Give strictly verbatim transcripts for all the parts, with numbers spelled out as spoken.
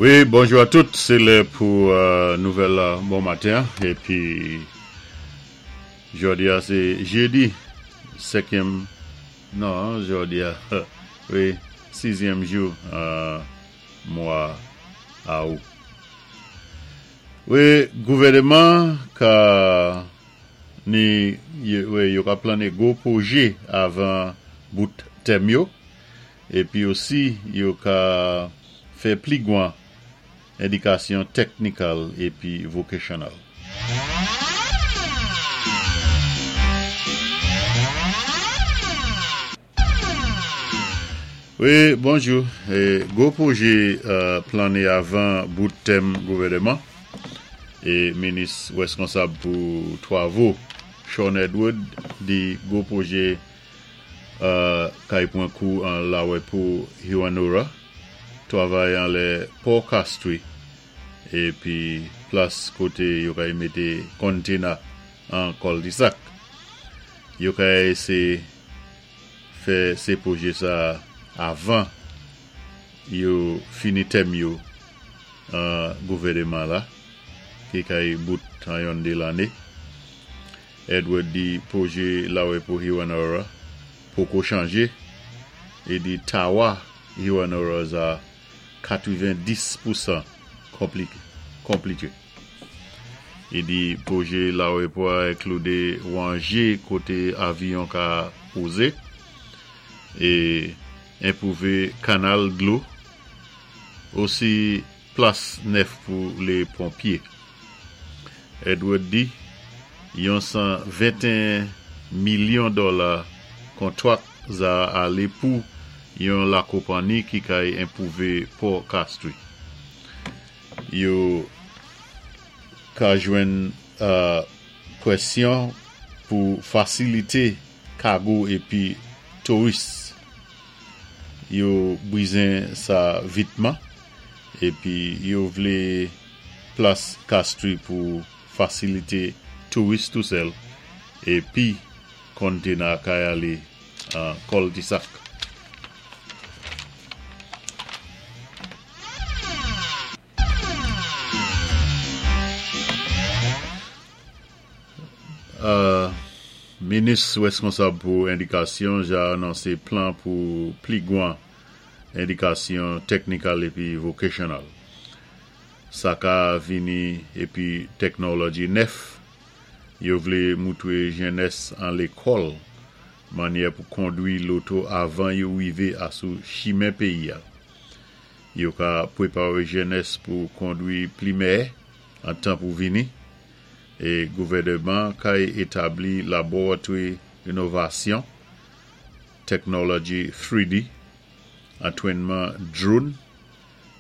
Wi, bonjou a tout. Sé lè pou euh, nouvèl la bon maten. Épi, jòdi-a, sé jédi, senkyèm, non, jòdi-a, wi, sizyèm jou, euh, mwa awout. Wi, gouvèdman ka ni wi, yo ka planné gwo pwojé avan bout tèm yo épi osi yo ka fè pli gwan édikasyon technical épi vocational. Wi, bonjou. É, gwo pwojé euh, planné avan bout tèm gouvèdman é minis wèskonsab pou twavo Shawn Edward di gwo pwojé euh, kay pwan kou an lawèpo Hewanorra, twavay anlè Pò Castries épi plas koté yo kay mété container an cul-de-sac. Yo kay sé fè sé pwojé sa avan yo fini tèm yo an gouvèdman la ki kay bout an yon dé lanné. Edward di pwojé lawèpo Hewanorra poko chanjé é di tawa Hewanorra za katwéven-dis pousan konpliké konplité. I di pwojé lawèpo a enklidé wanjé koté avyon ka pozé é enpwouvé kanal dlo osi plas nèf pou lé ponpyé. Edward di yon san venteyen milyon dola kontwak za alé pou yon lakonpanni ki kay enpwouvé Pò Castries. Yo ka jwenn euh, pwésyon pou fasilité kago épi touris. Yo bizwen sa vitman épi yo vlé plas Castries pou fasilité touris tou sèl épi container kay alé an cul-de-sac. Euh, minis wèskonsab pou édikasyon ja anonsé plan pou pli gwan édikasyon technical épi vocational. Sa ka vini épi téknolòji nèf. Yo vlé moutwé jènès an lékòl mannyè pou kondwi loto avan yo wivé asou chimen péyi-a. Yo ka pwéparé jènès pou kondwi pli mèyè an tan pou vini. É gouvèdman kay établi laboratwi inovasyon, téknolòji three D, antwénman drone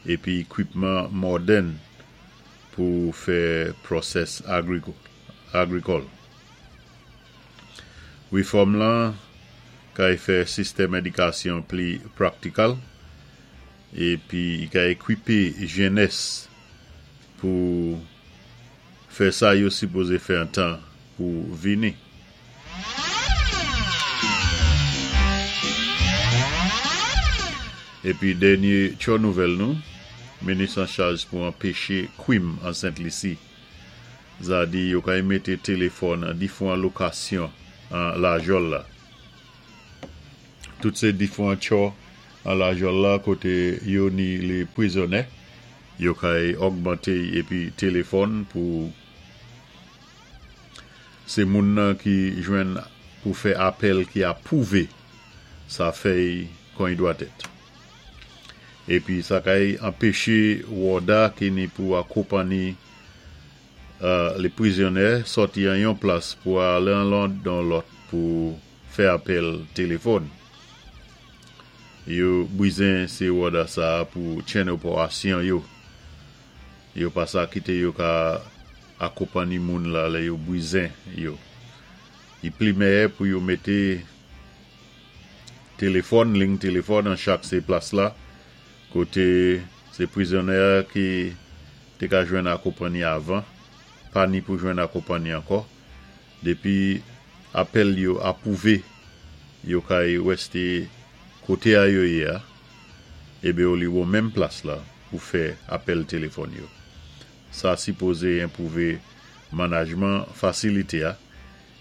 épi ékwipman modèn pou fè pwosès agrikòl. Wéfòm lan kay fè sistèm édikasyon pli practical épi kay ékwipé jènès pou fè sa yo sipozé fè an tan pou vini. Épi dènyé tcho nouvèl nou, minis an chaj pou anpéché kwim an Sent Lisi. Za di yo kay mété téléfòn an difwan lokasyon an lajòl la. Tout sé difwan tcho an lajòl la koté yo ni lé pwizonyé, yo kay ògmanté épi téléfòn pou sé moun nan ki jwenn pou fè apèl ki apwouvé sa fèy kon i dwat èt. Épi sa kay anpéché wòda ki ni pou akonpanni euh, lé pwizonyé sòti an yon plas pou alé an lòt dan lòt pou fè apèl téléfòn. Yo bizwen sé wòda sa pou tjenn opérasyon yo. Yo pa sa kité yo ka akonpanni moun la lè yo bizwen yo. I pli mèyè pou yo mété téléfòn, liy téléfòn an chak sé plas la koté sé pwizonyé ki té ka jwenn akonpanni avan, pa ni pou jwenn akonpanni ankò. Dépi apèl yo apwouvé, yo kay wèsté koté a yo yé a, ébi yo li wò menm plas la. pou fè apèl téléfòn yo. Sa sipozé enpwouvé manajman fasilité-a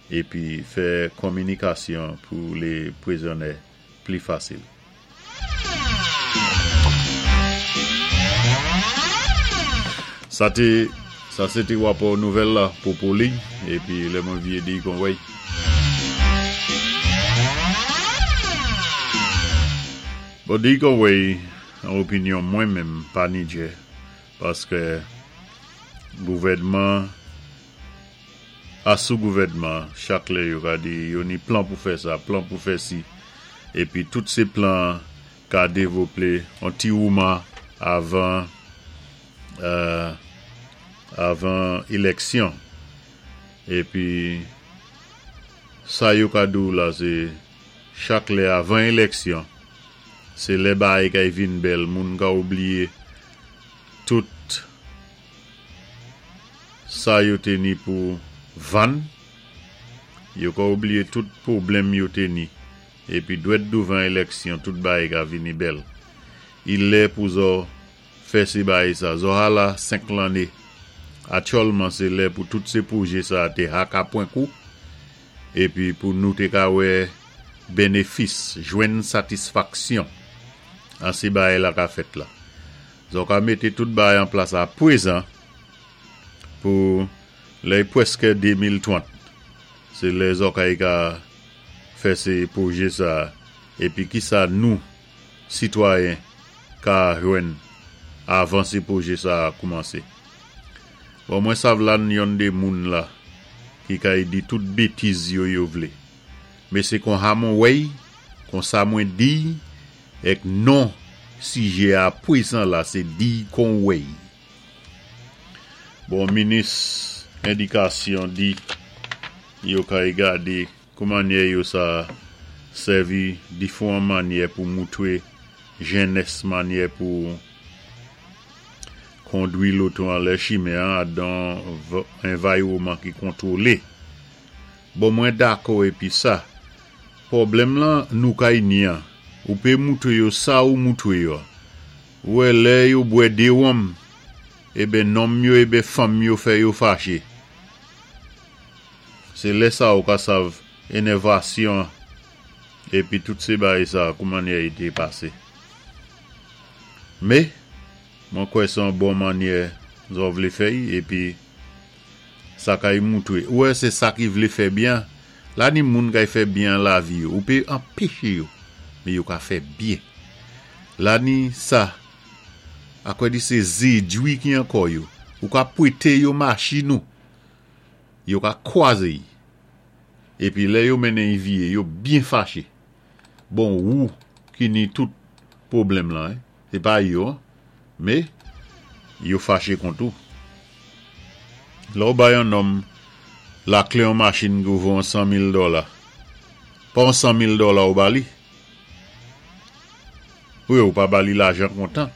épi fè konminikasyon pou lé pwizonnyé pli fasil. Sa té sa sé té wapò nouvèl la pou poli épi lè mwen vyé di kon wèy. Bon di kon wèy an opinyon mwen menm pa ni djè paskè gouvèdman asou gouvèdman chak lè yo ka di yo ni plan pou fè sa, plan pou fè si épi tout sé plan ka dévloplé an ti wouman avan euh, avan éléksyon. Épi sa yo ka di-w la sé chak lè avan éléksyon sé lè bagay kay vin bèl, moun ka oubliyé tout sa yo té ni pou vann, yo ka oubliyé tout pwoblèm yo té ni épi dwèt douvan éléksyon tout bagay ka vini bèl. I lè pou zò fè sé bagay sa, zò hala senk lanné. Aktyèlman sé lè pou tout sé pwojé sa té haka pwan kou épi pou nou té ka wè bénéfis, jwenn satisfaksyon an sé bagay la ka fèt la. Zò ka mété tout bagay an plas apwézan pou lè pwèskè de mil twant. Sé lè zò kay ka fè sé pwojé sa épi ki sa nou sitwayen ka jwenn avan sé pwojé sa koumansé. Bon, mwen sav la yon dé moun la ki kay di tout bétiz yo yo vlé. Mé sé kon ha mwen wèy, kon sa mwen di, èk non sijé a pwézan la sé di kon wèy. Bon, minis édikasyon di yo kay gadé koumannyè yo sa sèvi diféwan mannyè pou moutwé jènès mannyè pou kondwi loto an lè chimen an dan anviwonman ki kontwolé. Bon, mwen dakò épi sa. Pwoblèm lan nou kay ni an. Ou pé moutwé yo sa ou moutwé yo. Wè lè yo bwè dé wonm, eben nonm yo eben fanm yo fè yo faché. Sé lè sa ou ka sav énèvasyon épi tout sé bagay sa koumannyè i té pasé. Mé, mwen kwè sé an bon mannyè zò vlé fè épi sa kay moutwé. Wè sé sa ki vlé fè byen, la ni moun kay fè byen lavi yo, ou pé anpéché yo, mé yo ka fè byen. La ni sa, akwè di sé zédwi ki ankò yo, ou ka pwété yo machin ou, yo ka kwazé yi. Épi lè yo mennen yi vyé, yo byen faché. Bon, ou ki ni tout pwoblèm lan, hein, sé pa yo, mé yo faché kont ou. Lè ou bay an nonm laklé an machin ki vo an san mil dola. Pa an san mil dola ou ba li. Wi, ou pa ba li lajan kontan.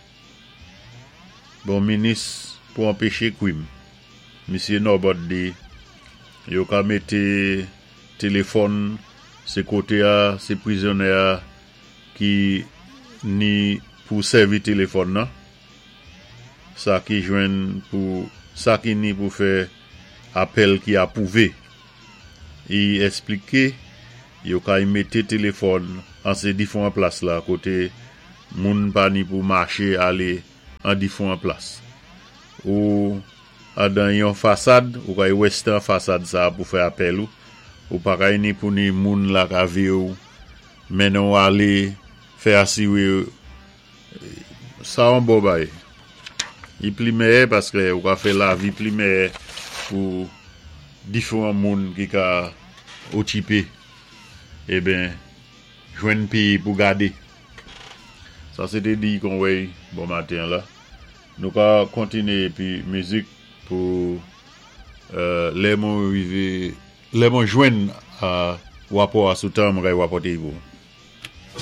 Bon, minis pou anpéché kwim. Misyé Norbert di, yo ka mété téléfòn sé koté a, sé pwizonnyé a ki ni pou sèvi téléfòn nan. Sa ki jwenn pou, sa ki ni pou fè apèl ki apwouvé. I éspliké yo kay mété téléfòn an sé diféwan plas la koté moun pa ni pou maché alé an diféwan plas. Ou adan yon fasad, ou kay western fasad sa pou fè apèl ou, ou pa kay ni pou ni moun la ka vi ou, mennen ou alé fè asiwé sa an bon bay. I pli meyè paskè ou ka fè lavi pli meyè pou diféwan moun ki ka okipé eben jwenn péyé pou gadé. Sa sé té di kon wèy bon maten la. Nou ka kontiné épi mizik pou euh, lè mwen rivé, lè mwen jwenn a wapò a sou tan mwen kay wapòté pou.